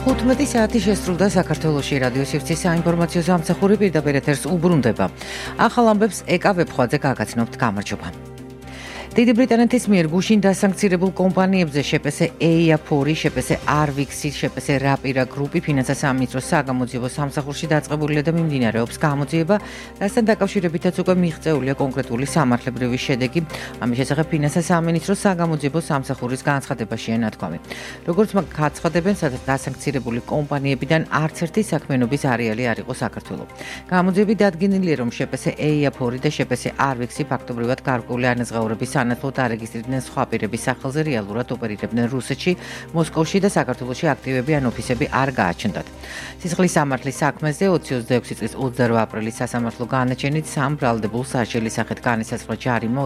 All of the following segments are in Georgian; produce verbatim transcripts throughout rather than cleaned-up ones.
ხუთმეტი საათი შესრულდა საქართველოში რადიო სივრცის საინფორმაციო სამსახური პირდაპირ ეთერს უბრუნდება. ახალ ამბებს ეკა ვებხვაძე გაგაცნობთ. გამარჯობა. დიდი ბრიტანეთის მიერ გუშინ დასანქცირებულ კომპანიებზე შეპესე ეია-ფორი, შეპესე არვიქსი, შეპესე რაპირა გრუპი ფინანსთა სამინისტროს საგამოძიებო სამსახურში დაწყებულია და მიმდინარეობს გამოძიება, რასთან დაკავშირებითაც უკვე მიღწეულია კონკრეტული სამართლებრივი შედეგი. ამის შესახებ ფინანსთა სამინისტროს საგამოძიებო სამსახურის განცხადებაშია ნათქვამი. როგორც მაგ გაცხადებენ, სადაც დასანქცირებული კომპანიებიდან არც ერთი საქმიანობის არეალი არ იყო საქართველო. გამოძიები დადგენილია, რომ შეპესე ეია-ფორი და შეპესე არვიქსი ფაქტობრივად გარკვეული ანაზღაურების სანაცვლოდ არეგისტრირდნენ სხვა პირების სახელზე, რეალურად ოპერირებდნენ რუსეთში, მოსკოვში და საქართველოში აქტივები ან ოფისები არ გააჩნდათ. სისხლის სამართლის საქმეზე ოცი ოცდაექვსი წლის ოცდაორ აპრილის სასამართლო განაჩენით სამ ბრალდებულ სასჯელის სახით განისაზღვრა ჯარიმა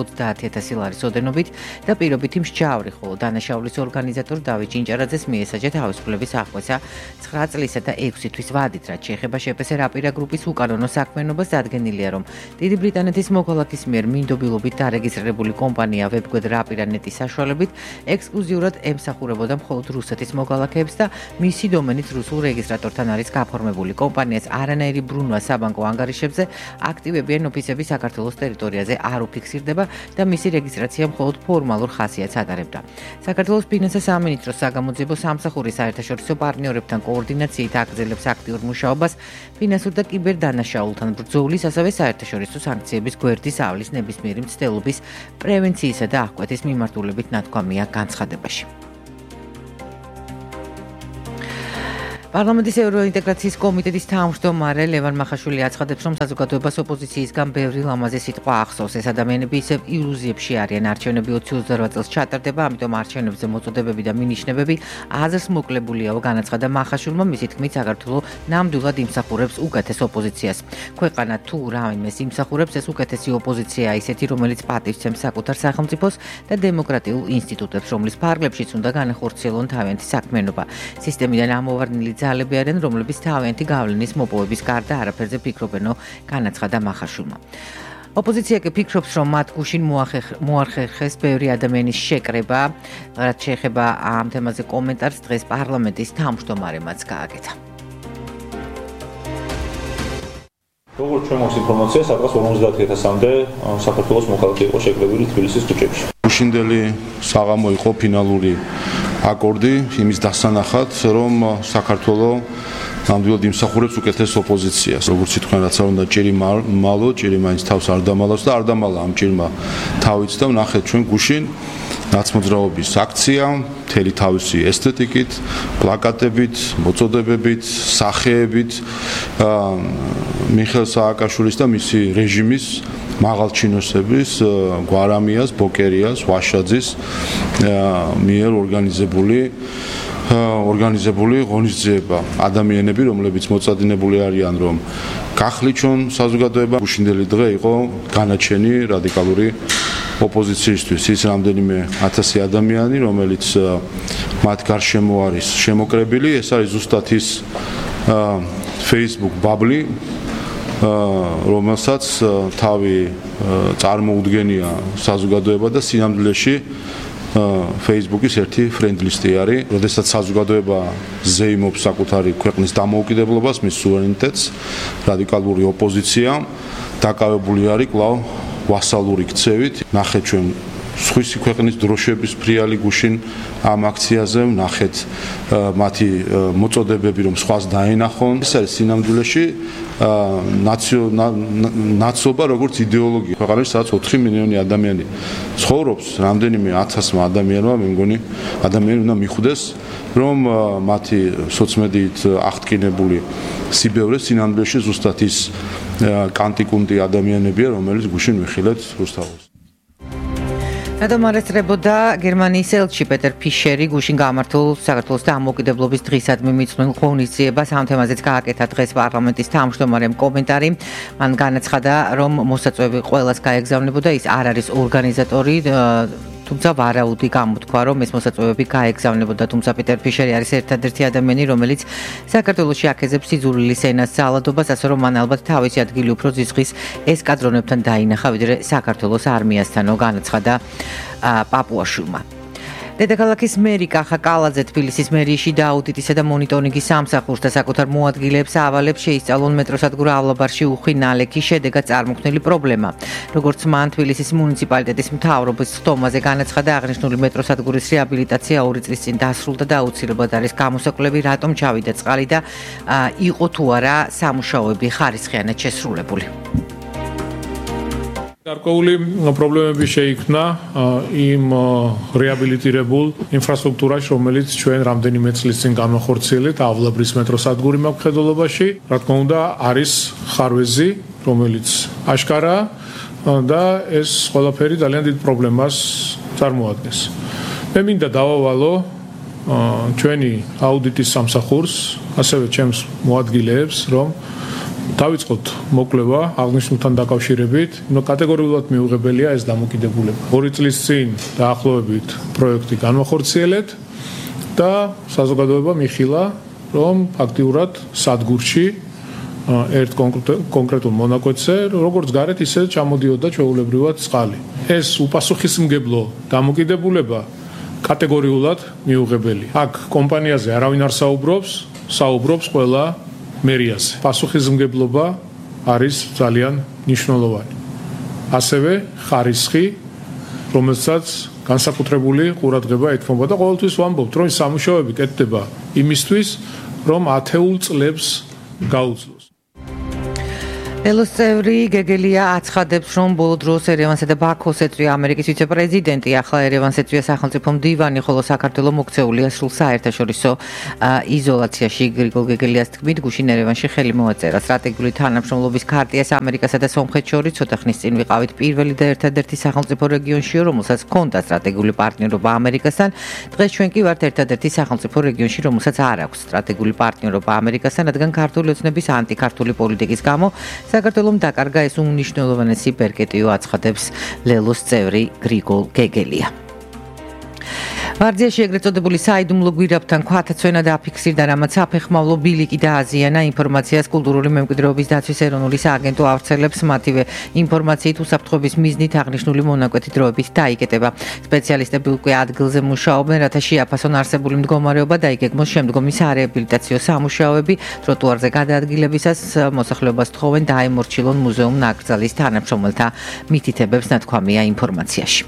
ოცდაათი ათასი ლარის ოდენობით და პირობითი მსჯავრი, ხოლო დანაშაულის ორგანიზატორ დავით ჭინჭარაძეს მიესაჯა თავისუფლების აღკვეცა ცხრა წლისა და ექვსი თვის ვადით, რაც შეეხება შეპესე რაპირა გრუპის უკანონო საქმიანობას. დადგენილია, რომ დიდი ბრიტანეთის მოქალაქის მიერ მინდობილობით დარეგისტრირებული კომპანია ვებგვერდ რაპირა.ნეტის საშუალებით ექსკლუზიურად ემსახურებოდა მხოლოდ რუსეთის მოქალაქეებს და მისი დომენით რუსულ რეგისტრატორთან არის გაფორმებული. კომპანიას არანაირი ბრუნვა საბანკო ანგარიშებზე აქტივები ან ოფისები საქართველოს ტერიტორიაზე არ უფიქსირდება და მისი რეგისტრაცია მხოლოდ ფორმალურ ხასიათს ატარებდა. საქართველოს ფინანსთა სამინისტროს საგამოძიებო სამსახური საერთაშორისო პარტნიორებთან კოორდინაციით აგრძელებს აქტიურ მუშაობას ფინანსურ და კიბერდანაშაულთან ბრძოლის, ასევე საერთაშორისო სანქციების გვერდის ავლის ნებისმიერი მცდელობის პრევენციისა და აღკვეთის მიმართულებით ნათქვამია განცხადებაში. პარლამენტის ევროინტეგრაციის კომიტეტის თავმჯდომარე ლევან მახაშვილი აცხადებს, რომ საზოგადოებას ოპოზიციისგან ბევრი ლამაზი სიტყვა ახსოვს. ეს ადამიანები ისევ ილუზიებში არიან. არჩევნები ოცი ოცდარვა წელს ჩატარდება, ამიტომ არჩევნებზე მოწოდებები და მინიშნებები აზრს მოკლებულია, განაცხადა მახაშვილმა. მისი თქმით, საქართველო ნამდვილად იმსახურებს უკეთეს ოპოზიციას. ქვეყანა თუ რაიმეს იმსახურებს, ეს უკეთესი ოპოზიციაა, ისეთი, რომელიც პატივცემს საკუთარ სახელმწიფოს და დემოკრატიულ ინსტიტუტებს, რომლის ფარგლებშიც უნდა განახორციელონ თავიანთი საქმიანობა. სისტემიდან ამოვარდნილი ძალები არიან, რომლებიც თავიანთი გავლენის მოპოვების გარდა არაფერზე ფიქრობენო, განაცხადა მახაშვილმა. ოპოზიცია კი ფიქრობს, რომ მათ გუშინ მოახერხეს ბევრი ადამიანის შეკრება, რაც შეეხება ამ თემაზე კომენტარს დღეს პარლამენტის თავმჯდომარემაც გააკეთა. როგორც ჩვენ გვაქვს ინფორმაცია, საკუთარ ორმოცდაათი ათასამდე საქართველოს მოქალაქე იყო შეკრებილი თბილისის ქუჩებში. გუშინდელი საღამო იყო ფინალური აკორდი იმის დასანახად, რომ საქართველო ნამდვილად იმსახურებს უკეთეს ოპოზიციას. როგორც თქვენ, რაც არ უნდა ჭირი მალო, ჭირი მაინც თავს არ დამალავს და არ დამალა ამ ჭირმა თავიც და ვნახეთ ჩვენ გუშინ ნაცმოძრაობის აქცია, მთელი თავისი ესთეტიკით, პლაკატებით, მოწოდებებით, სახეებით მიხეილ სააკაშვილის და მისი რეჟიმის მაღალჩინოსების გვარამიას, ბოკერიას, ვაშაძის მიერ ორგანიზებული ორგანიზებული ღონისძიება. ადამიანები, რომლებიც მოწადინებული არიან, რომ გახლიჩონ საზოგადოება. გუშინდელი დღე იყო განაჩენი რადიკალური ოპოზიციისთვის. ის რამდენიმე ათასი ადამიანი, რომელიც მათ გარშემო არის შემოკრებილი, ეს არის ზუსტად ის Facebook ბაბლი, რომელსაც თავი წარმოუდგენია საზოგადოება და სინამდვილეში Facebook-ის ერთი ფრენდლისტი არის, როდესაც საზოგადოება ზეიმობს საკუთარი ქვეყნის დამოუკიდებლობას, მის სუვერენიტეტს, რადიკალური ოპოზიცია დაკავებული არის კვლავ ვასალური ქცევით. ნახეთ ჩვენ სხვისი ქვეყნის დროშების ფრიალი გუშინ ამ აქციაზე, ნახეთ მათი მოწოდებები, რომ სხვას დაენახონ. ეს არის სინამდვილეში ნაცობა როგორც იდეოლოგია. ქვეყანაში სადაც ოთხი მილიონი ადამიანი ცხოვრობს, რამდენიმე ათასმა ადამიანმა, მე მგონი, ადამიანი უნდა მიხვდეს, რომ მათი სოციმედიით აღტკინებული სიბევრე სინამდვილეში ზუსტად ის კანტიკუნტი ადამიანებია, რომელიც გუშინ ვიხილეთ რუსთაველს. რადგან მარესწრებოდა გერმანიის ელჩი პეტერ ფიშერი გუშინ გამართულ საქართველოს დამოუკიდებლობის დღისადმი მიწვეულ ღონისძიებას. ამ თემაზეც გააკეთა დღეს პარლამენტის თავმჯდომარემ კომენტარი. მან განაცხადა, რომ მოსაწვევი ყველას გაეგზავნებოდა, ის არ არის ორგანიზატორი, თუმცა ვარაუდი გამოთქვა, რომ ეს მოსაწვევები გაეგზავნებოდა, თუმცა პიტერ ფიშერი არის ერთადერთი ადამიანი, რომელიც საქართველოში აქეზებს სიძულვილის ენას ძალადობას, ასე რომ მან ალბათ თავისი ადგილი უფრო ზიზღის ესკადრონებთან დაინახა, ვიდრე საქართველოს არმიასთანო, განაცხადა პაპუაშვილმა. დედაქალაქის მერი კახა კალაძე თბილისის მერიაში დააუდიტისა და მონიტორინგის სამსახურს და საკუთარ მოადგილეებს ავალებს შეისწავლონ მეტროსადგურ ავლაბარში უხვი ნალექის შედეგად წარმოქმნილი პრობლემა. როგორც მან თბილისის მუნიციპალიტეტის მთავრობის ხდომაზე განაცხადა, აღნიშნული მეტროსადგურის რეაბილიტაცია ორი წლის წინ დასრულდა და აუცილებლად არის გამოსაკლები, რატომ ჩავიდა წყალი და იყო თუ არა სამუშაოები ხარისხიანად შესრულებული. გარკვეული პრობლემები შეიქმნა იმ რეაბილიტირებულ ინფრასტრუქტურაში, რომელიც ჩვენ რამდენიმე წლის წინ განახორციელებთ ავლაბრის მეტროსადგური მხედველობაში. რა თქმა უნდა, არის ხარვეზი, რომელიც აშკარაა და ეს ყველაფერი ძალიან დიდ პრობლემას წარმოადგენს. მე მინდა დავავალო ჩვენი აუდიტის სამსახურს, ასევე ჩემს მოადგილეებს, რომ დავიწყოთ მოკვლევა აღნიშნულთან დაკავშირებით, ნუ კატეგორიულად მიუღებელია ეს დამოკიდებულება. ორი წლის წინ დაახლოებით პროექტი განახორციელეთ და საზოგადოება მიხილა, რომ ფაქტიურად სადგურში ერთ კონკრეტულ მონაკვეთზე, როგორც გარეთ, ისე ჩამოდიოდა ჩვეულებრივად წყალი. ეს უპასუხისმგებლო დამოკიდებულება კატეგორიულად მიუღებელი. აქ კომპანიაზე არავინ არ საუბრობს, საუბრობს ყველა მერიაზე. პასუხისმგებლობა არის ძალიან მნიშვნელოვანი. ასევე ხარისხი, რომელსაც განსაკუთრებული ყურადღება ეთმობა და ყოველთვის ვამბობთ, რომ სამუშაოები კეთდება იმისთვის, რომ ათეულ წლებს გაუძლოს. ლელოს წევრი გეგელია აცხადებს, რომ ბოლო დროს ერევანსა და ბაქოს ეწვია ამერიკის ვიცე-პრეზიდენტი, ახლა ერევანს ეწვია სახელმწიფო მდივანი, ხოლო საქართველო მოქცეულია სრულ საერთაშორისო იზოლაციაში. გრიგოლ გეგელიას თქმით, გუშინ ერევანში ხელი მოაწერა სტრატეგიული თანამშრომლობის ქარტიას ამერიკასა და სომხეთს შორის. ცოტა ხნის წინ ვიყავით პირველი და ერთადერთი სახელმწიფო რეგიონში, რომელსაც ჰქონდა სტრატეგიული პარტნიორობა ამერიკასთან. დღეს ჩვენ კი ვართ ერთადერთი სახელმწიფო რეგიონში, რომელსაც არ აქვს სტრატეგიული პარტნიორობა ამერიკასთან, რადგან ქართული ოცნების ანტიქართული პოლიტიკის გამო საქართველომ დაკარგა ეს უმნიშვნელოვანესი ბერკეტიო, აცხადებს ლელოს წევრი გრიგოლ გეგელია. ვარძიაში ეგრეთ წოდებული საიდუმლო გვირაბთან ქვათაცვენა დაფიქსირდა, რამაც საფეხმავლო ბილიკი დააზიანა. ინფორმაციას კულტურული მემკვიდრეობის დაცვის ეროვნული სააგენტო ავრცელებს. მათივე ინფორმაციით უსაფრთხოების მიზნით აღნიშნული მონაკვეთი დროებით დაიკეტება. სპეციალისტები უკვე ადგილზე მუშაობენ, რათა შეაფასონ არსებული მდგომარეობა და იგეგმოს შემდგომი სარეაბილიტაციო სამუშაოები. ტროტუარზე გადაადგილებისას მოსახლეობას თხოვენ დაემორჩილონ მუზეუმ ნაკრძალის თანამშრომელთა მითითებებს, ნათქვამია ინფორმაციაში.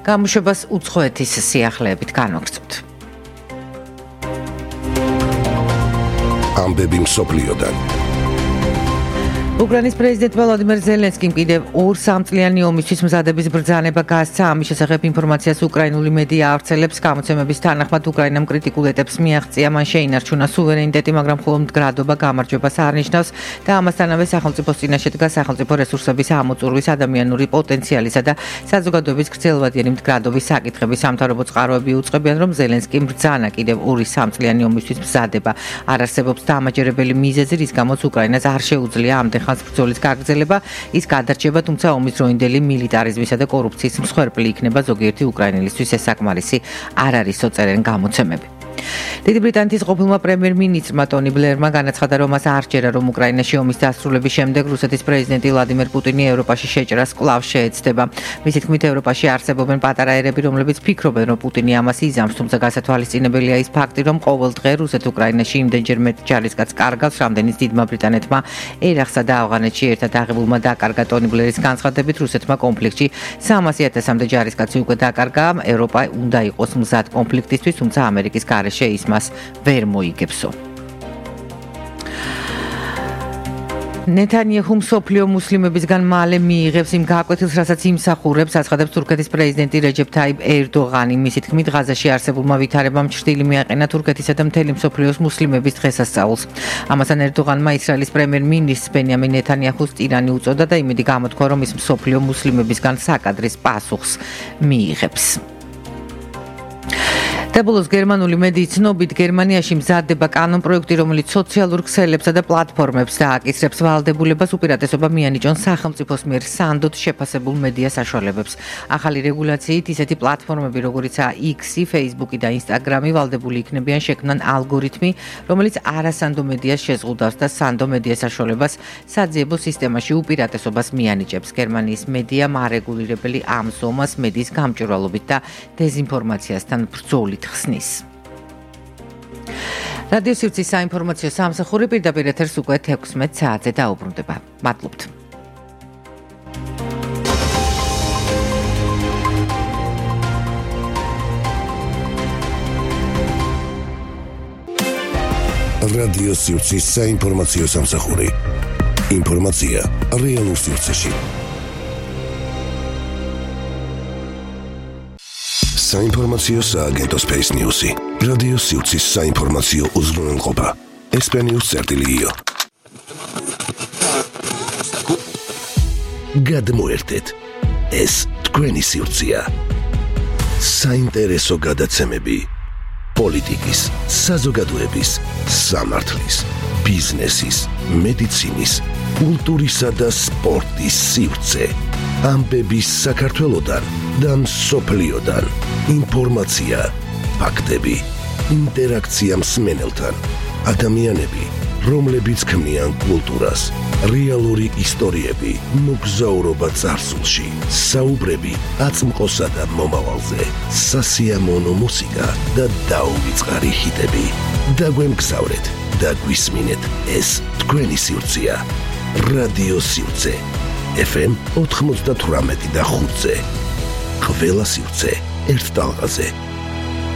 გამოშვებას უცხოეთის სიახლეებით განვაგრძობთ. ამბები მსოფლიოდან. უკრაინის პრეზიდენტ ვლადიმერ ზელენსკიმ კიდევ ორ სამწლიანი ომისთვის მზადების ბრძანება გასცა. ამის შესახებ ინფორმაციას უკრაინული მედია ავრცელებს. გამოცემების თანახმად უკრაინამ კრიტიკულ ეტაპს მიაღწია. მან შეინარჩუნა სუვერენიტეტი, მაგრამ მხოლოდ მდგრადობა გამარჯვებას არ ნიშნავს და ამასთანავე სახელმწიფოს წინაშე დგას სახელმწიფო რესურსების ამოწურვის, ადამიანური პოტენციალისა და საზოგადოების გრძელვადიანი მდგრადობის საკითხები. სამთავრობო წყაროები უწყებიან, რომ ზელენსკიმ ბრძანა კიდევ ორი სამწლიანი ომისთვის მზადება. არ არსებობს დამაჯერებელი მიზეზი, რის გამოც უკრაინას არ შეუძლია ამდენ ხანს ბრძოლის გაგრძელება. ის გადარჩება, თუმცა ომის დროინდელი მილიტარიზმისა და კორუფციის მსხვერპლი იქნება. ზოგიერთი უკრაინელისთვის ეს საკმარისი არ არის, წერენ გამოცემები. დიდი ბრიტანეთის ყოფილმა პრემიერ-მინისტრმა ტონი ბლერმა განაცხადა, რომ მას არ სჯერა, რომ უკრაინაში ომის დასრულების შემდეგ რუსეთის პრეზიდენტი ვლადიმერ პუტინი ევროპაში შეჭრას კვლავ შეეცდება. მისი თქმით, ევროპაში არსებობენ პატარა ერები, რომლებიც ფიქრობენ, რომ პუტინი ამას იზამს, თუმცა გასათვალისწინებელია ის ფაქტი, რომ ყოველ დღე რუსეთ-უკრაინაში იმდენჯერ მეტ ჯარისკაცს კარგავს, რამდენიც დიდმა ბრიტანეთმა ერახსა და ავღანეთში ერთად აღებულმა დაკარგა. ტონი ბლერის განცხადებით, რუსეთმა კონფლიქტში სამასი ათასამდე ჯარისკაცი უკვე დაკარგა. ევროპა უნდა იყოს მზად კონფლიქტისთვის, თუმცა ამერიკის გარეშე ის მას ვერ მოიგებსო. ნეთანიაჰუ მსოფლიო მუსლიმებისგან მალე მიიღებს იმ გაკვეთილს, რასაც იმსახურებს, აცხადებს თურქეთის პრეზიდენტი რეჯეფ თაიფ ერდოღანი. მისი თქმით, ღაზაში არსებულმა ვითარებამ ჩრდილი მიაყენა თურქეთისა და მთელი მსოფლიოს მუსლიმების დღესასწაულს. ამასთან ერდოღანმა ისრაელის პრემიერ-მინისტრს ბენიამინ ნეთანიაჰუს ტირანი უწოდა და იმედი გამოთქვა, რომ ის მსოფლიო მუსლიმებისგან საკადრის პასუხს მიიღებს. საბოლოოს გერმანული მედიის ცნობით გერმანიაში მზადდება კანონპროექტი, რომელიც სოციალურ ქსელებსა და პლატფორმებს დააკისრებს ვალდებულებას უპირატესობა მიანიჭონ სახელმწიფოს მიერ სანდოდ შეფასებულ მედია საშუალებებს. ახალი რეგულაციით ისეთი პლატფორმები, როგორიცაა X, Facebook და Instagram, ვალდებული იქნებიან შექმნან ალგორითმი, რომელიც არასანდო მედიას შეზღუდავს და სანდო მედია საშუალებას საძიებო სისტემაში უპირატესობას მიანიჭებს. გერმანიის მედია მარეგულირებელი ამ ზომას მედიის გამჭვირვალობით და დეზინფორმაციასთან ბრძოლით ხსნის. რადიო სივრცის საინფორმაციო სამსახური პირდაპირ ეთერს უკვე თექვსმეტ საათზე დაუბრუნდება. მადლობთ. რადიო სივრცის საინფორმაციო სამსახური. ინფორმაცია რეალურ სივრცეში. საინფორმაციო სააგენტო Space News-ი. რადიო სივრცის საინფორმაციო უზრუნველყოფა. ესპენიუს წერტილიო. გადმოერთეთ. ეს თქვენი სივრცეა. საინტერესო გადაცემები. პოლიტიკის, საზოგადოების, სამართლის, ბიზნესის, მედიცინის, კულტურისა და სპორტის სივრცე. ამბების საქართველოდან და მსოფლიოდან. ინფორმაცია, ფაქტები, ინტერაქცია მსმენელთან. ადამიანები, რომლებიც ქმნიან კულტურას. რეალური ისტორიები, მოგზაურობა წარსულში, საუბრები აწმყოსა და მომავალზე, სასიამოვნო მუსიკა და დაუვიწყარი ჰიტები. დაგვემგზავრეთ და გვისმინეთ, ეს თქვენი სივრცეა. რადიო სივრცე. ეფ ემ ოთხმოცდათვრამეტი და ხუთზე. ყველა სივრცე ერთ ტალღაზე.